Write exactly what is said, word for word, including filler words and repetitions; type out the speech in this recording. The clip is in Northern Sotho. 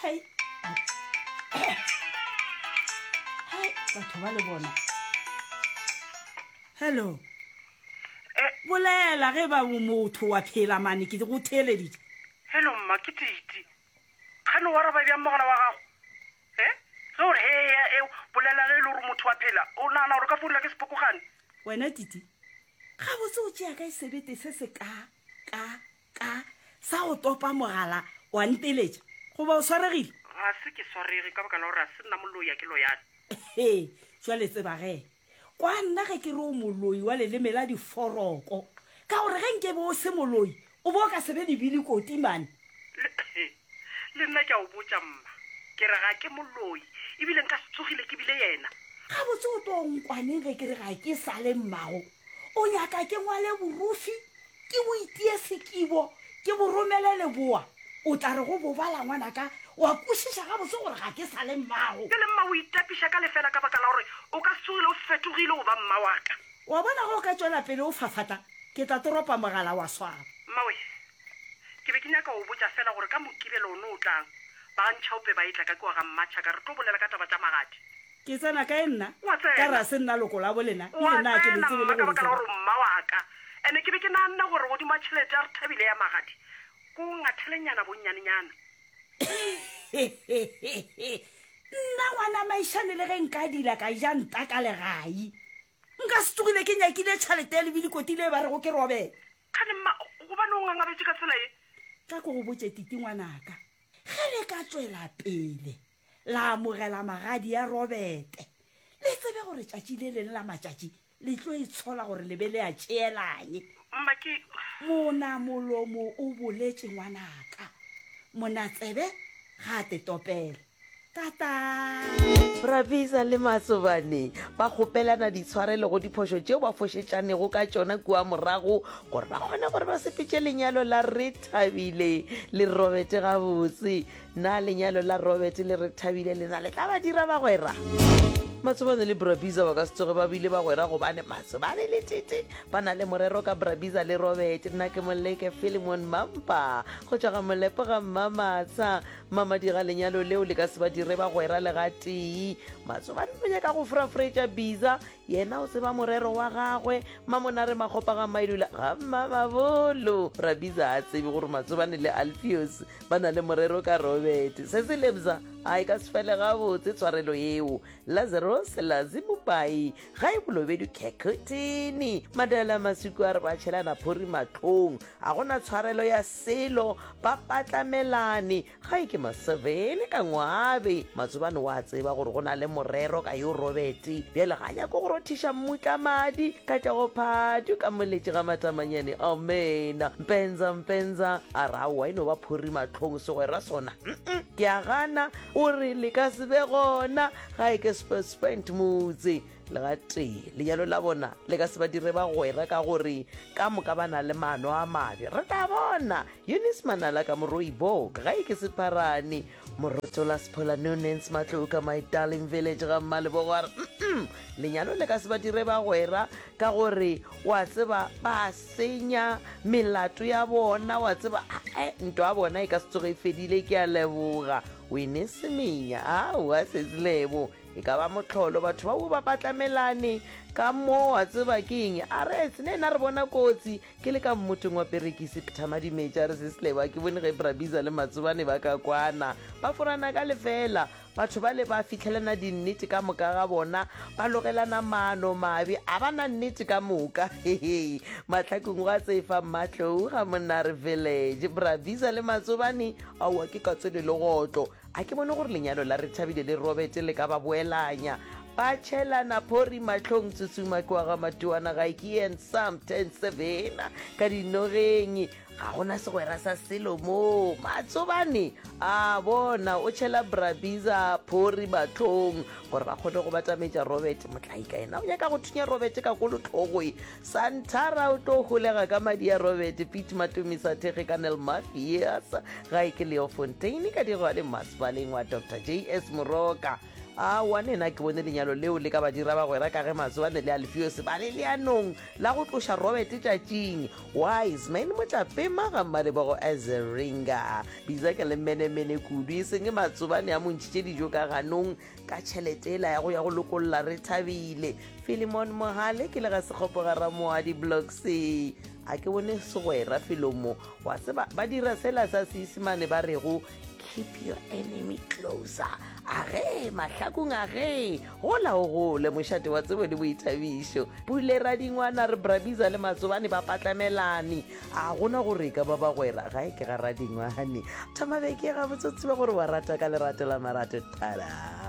Hai. Hai, batho ba le bona. Hello. Bolela ge ba motho wa phela mane ke go theeleditše. Hello mma, ke Titi. Kgane wa araba bjang mogala wa gago? E ge o re he e bolela ge e le gore motho wa phela, o nagana gore ka founela ke sepokogane? Wena Titi, gabotse o tšea kae sebete se se ka ka ka sa go topa mogala wa nteletša? Goba o swaregile? Ga se ke swarege ka baka la gore ga se nna moloi, a ke loyane. He, jwale tseba ge kwa nna ge ke re o moloi wa leleme la diforoko, ka gore ge nke be o se moloi o bo o ka se be lebile koti mane. Le, le nna ke a o botša mma, ke re ga ke moloi, ebile nka se tsogile ke bile yena. Gabotse o tlo nkwaneng ge ke re ga ke sa le mmago? O nyaka ke ngwale borufi, ke bo itie sekibo, ke bo romele leboa? O tla re go bo bala ngwanaka wa kwešiša gabotse gore ga ke sa le mmago. Bjale mma o itapiša ka lefela ka baka la gore o ka se tsogile o fetogile go ba mma wa ka. Wa bona ge o ka tšwela pele o fafatla, ke tla toropa mogala wa swaba. Mmawe, ke be ke nyaka go botša fela gore ka Mokibelo ono o tlang, ba ga Ntšhaope ba etla ka kua ga Mmatšhaka, re tlo bolela ka taba tša magadi. Ke tsena kae nna? Wa tsena. Ka re a se nna loko la bolena, Wa ebile nna ke le tsena tsebe le mma ka go le baka la tseba. gore o mma wa ka. Ene ke be ke naganne gore godimo ga tšhelete ya re thabile ya magadi, ko ngathelenyana bonnyanenyana. Nna ngwana maišane le ge nka dila ka ja nta ka legai, nka se tsogile ke nyakile tšhelete ya lebilikoti le ba rego ke robele. Kgane mma, gobane o ngangabetše ka tsela ye? Tla ko go botše Titi ngwanaka, ge le ka tšwela pele la amogela magadi ya Robete, le tsebe gore tšatši le leng la matšatši le tlo itshola gore le be le a tšeelanye. Mma ke Mona molomo o boletše ngwanaka, mona tsebe ga a te topele. Tata. Rabisa le Matsobane ba kgopelana ditshwarelo go diphošo tšeo ba fošetšanego ka tšona kua morago gore ba kgone gore ba sepetše lenyalo la Rethabile le Robert gabotse. Na lenyalo la Robert le Rethabile lena le tla ba dira bagwera? Matsobane le Brabiza ba ka se tsoge ba bile bagwera gobane Matsobane le Tete ba na le morero ka Brabiza le Robert. Nna ke Moleke Philemon Mampa go tšwa ga Molepo ga Mmamatsha. Mamadi ga lenyalo leo le ka se ba dire bagwera le gatee. Matsobane o nyaka go furafuretša Biza, yena o tseba morero wa gagwe. Mamonare Makgopa ga Maidula ga Mmamabolo. Brabiza a tsebe gore Matsobane le Alfios ba na le morero ka Robert. Se se lebza a e ka se fele gabotse tshwarelo yeo. Lazarus Lazi Mopai ga e bolobedu Khekhuthini. Madala Masuku a re ba tšhelana phori mahlong, a gona tshwarelo ya selo, ba patlamelane. Ga e ke Masevene ka ngwabe. Matsobane wa tseba gore go na le morero ka yo Robert, bjale ga nyako go rothiša mmutla madi ka tšago phatu ka moletše ga matamanyane. Amena. Mpenza mpenza a re aowa e no ba phori mahlong segwera sona. Mm-mm, ke a gana o re le ka se be gona ga e ke spent motse le gatee. Lenyalo la bona le ka se ba dire bagwera ka gore ka moka ba na le maano a mabe. Re tla bona. Eunice Manala ka Moroibok ga e ke sepharane. Morotola Sephola Nonens Matloka my darling village ga Mmalebogo a re mm lenyalo le ka se ba dire bagwera ka gore wa tseba ba senya melato ya bona, wa tseba ae ntwa ya bona e ka se tsoge e fedile. Ke a leboga Wine Semenya. Aowa Sesilebo e ka ba mohlolo, batho ba bo ba patlamelane ka mo, wa tseba ke eng? A re ne nna re bona kotsi ke le ka mmotong wa perekisi Thamadimetša. A re Sesilebo a ke bone ge Brabiza le Matsobane ba ka kwana, ba forana ka lefela. Batho ba le ba fitlhelana dinnete ka moka ga bona, ba logelana maano mabe, a ba na nnete ka moka. Hehe, mahlakong gwa tsefa Mmatlou ga Monare village. Brabiza le Matsobane aowa ke katse le legotlo. A ke bone gore lenyalo la Rethabile le Robert le ka ba boelanya. Ba tšhelana phori mahlong tsutsuma kwa ga Matuana ga ke and some ten seven ka dinogeng. Ga gona segwera sa selo mo. Matsobane a bona o tšhela Brabiza phori mahlong gore ba kgone go batametša Robert. Motlaika yena o nyaka go thunya Robert ka kolotlhogoe. Santara o tlo holega ka madi a Robert. Pete Matomisa thekge ka Nel Mafias ga e ke Leo Fontaine ka dirwa le masepaleng wa Doctor J S Moroka. Aowa nena ke bone lenyalo leo le ka ba dira bagwera ka ge Matsobane le Alfios ba le leanong la go tloša Robert tšatšing. Wiseman Motlapema ga Mmalebogo Ezeringa. Bisa ke le menemene kudu e seng Matsobane a mo ntšhitše dijo ka ganong ka tšhelete ela ya go ya go lokolla Rethabile. Philemon Mohale ke le ga Sekgopo ga Ramoadi Block C. A ke bone segwera felo mo. Wa tseba ba dira sela sa Seisemane ba rego keep your enemy closer. Age mahlakong age gola o gole mošate wa tsebo le boithabišo. Pule Radingwana re Brabiza le Matsobane ba patlamelane. A gona gore e ka ba bagwera gae ke ga Radingwane. Thoma beke gabotse o tsebe gore wa rata ka lerato la marato. Tada!